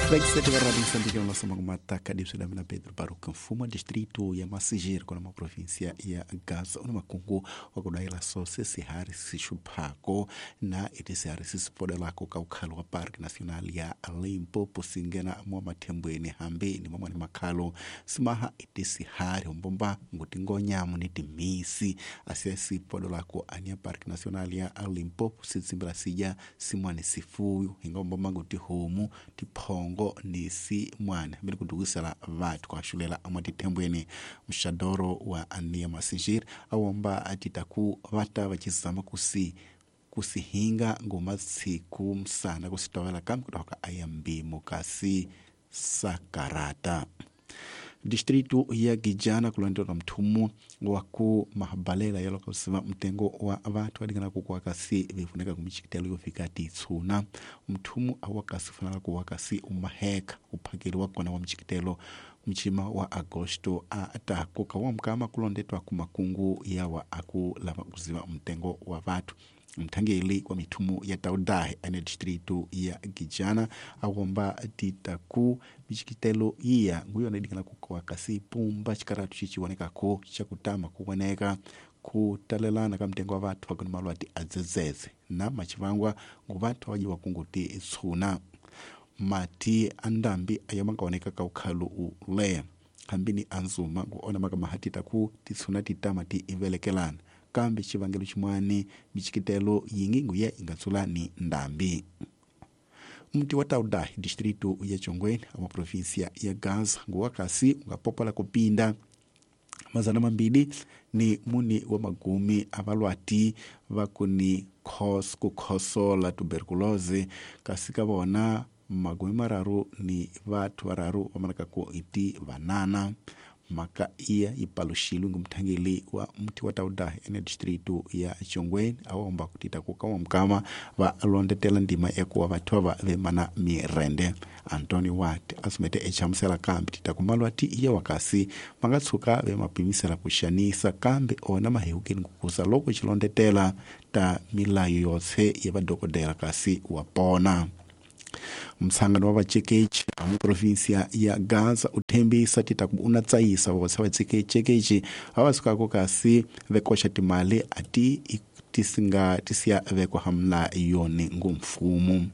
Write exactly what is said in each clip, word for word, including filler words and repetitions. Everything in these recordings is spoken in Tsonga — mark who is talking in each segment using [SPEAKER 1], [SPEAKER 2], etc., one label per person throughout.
[SPEAKER 1] Vexete va Radio Moçambique nossa mata kadipsudamina Pedro Baruca Mfuma distrito ya Massingir kona província ya Gaza una makungu wa kudaila so sesihari sixuphako na itisihari sisipodelako ka ukhalo wa Parque Nacional ya Limpopo singena mwa mathembweni hambi ni mamwani makhalo simaha itisihari hombomba ngutingonyamu ni timisi asiya sipodolako ania Parque Nacional ya Limpopo sitsimbila sija simwani sifuyu hingombomba ngutihomu tiphongo ni si mwana mbele kudukusela vathu kwashulela amwatithembweni mxadoro wa ania Massingir awomba atitaku vata vachizama kusi kusihinga ngomatsiku msana kusitowela kambe kutoka ayambimo kasi sakarata. Distrito ya Gijana kulondola mthumu wa ku mahabalela yalokusima mtengo wa vathu adingana kukuwa kasi vifuneka kumichikitelo yofika titsuna mthumu awakasi ufanala kuwakasi umaheka uphakeli wakona wa mchikitelo mchima wa Agosto atako kawa mkama kulondetwa kumakungu yawa akulava kuziva mtengo wa vathu. Mthangeli wa mithumu ya Taudahe ane distrito ya Gijana awomba titaku michikitelo iya nguyona idikana kukowa kasi pumba chikaratu chichiwonekako chakutama kuwoneka kutalelana ka mtengo wa vathu vakuni malwati adzedzedze na machivangwa ngu vathu awajiwa kunguti tshuna mati andambi ayo mangaoneka ka ukhalu uleya hambini anzuma nguona makamahatita ku titshuna titama ti ivelekelana kambe xivangelo xin'wani michikitelo yingi nguya ingatsula ni ndambi. Mti wa Taudahe distrito ya Chongweni ama província ya Gaza nguwa kasi ungapopola kupinda mazana mambili ni muni wa magumi avalwati vakuni khos kukhosola tuberculose kasi ka vona magumi mararu ni vathu vararu vamanaka ku iti vanana. Maka iya ipaluxilwe ngumthangeli wa mti wa Taudahe ene distrito ya Chongweni awomba kutita kukawa mkama va londetela ndima ekuwa vathu ava vemana mirende. Antonio Watt asumete echamusela kambe tita kumalwati iya wakasi mangatshuka vemapimisela kuxanisa kambe ona mahehukeni kukusa loko xilondetela ta milayo yotse ya vadokodela kasi wa pona. Msangano wa vacekechi mu província ya Gaza uthembisa titaku una tsayisa votsa vacekechekechi avasukako kasi vekoxa timali ati tisinga tisiya vekwa hamla yoni ngumfumu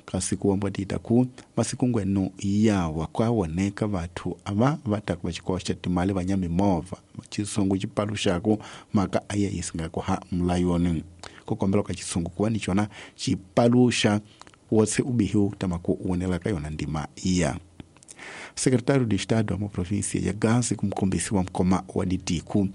[SPEAKER 1] kasi kuwamba titaku masiku ngwenu yawa kwawoneka vathu ava vataku vachikoxa timali va nyamimovha chisungu chipaluxaku maka aya yisingako ha mlayoni kukombela ka chisungu kuwa ni chona chipaluxa wotse ubihiu tamaku uonela ka yona ndima iya. Secretário de Estado wa província ya Gaza kumkombisi wa mkoma wa ditiku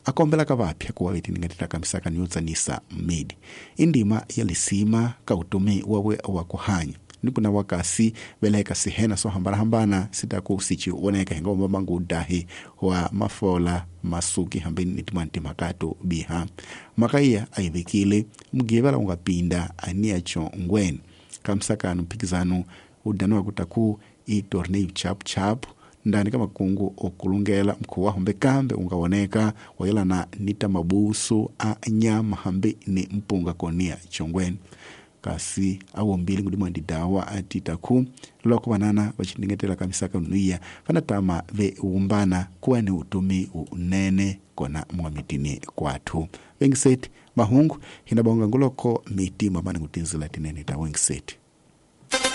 [SPEAKER 1] akombela ka vapya kuwa vetiningatita kamisaka niyotsanisa mmidi indima ya lisima ka utumi wawe wa kuhanya nikuna wakasi veleka sihena so hambana sitaku sichioneka hingomba mangu dahi wa mafola masuki hambeni nitimwanti makato biha makaiya aivekile mgivela ungapinda ania chongweni kamsakano mphikizano udaniwa kutaku i torneo chap chap ndani ka makungu okulungela mkhuwa humbe kambe ungawoneka wayelana nita mabusu a nyama hambi ni mpunga konia chongweni kasi awombili ngudimwa ndidawa atitaku loko vanana vachindingetela kamisaka nuiya vanatama veumbana kuwa ni utumi unene kona mwa mitini kwathu wengiseti mahungu hinabonga nguloko miti mwamani ngutinzila tinene ta wengiseti.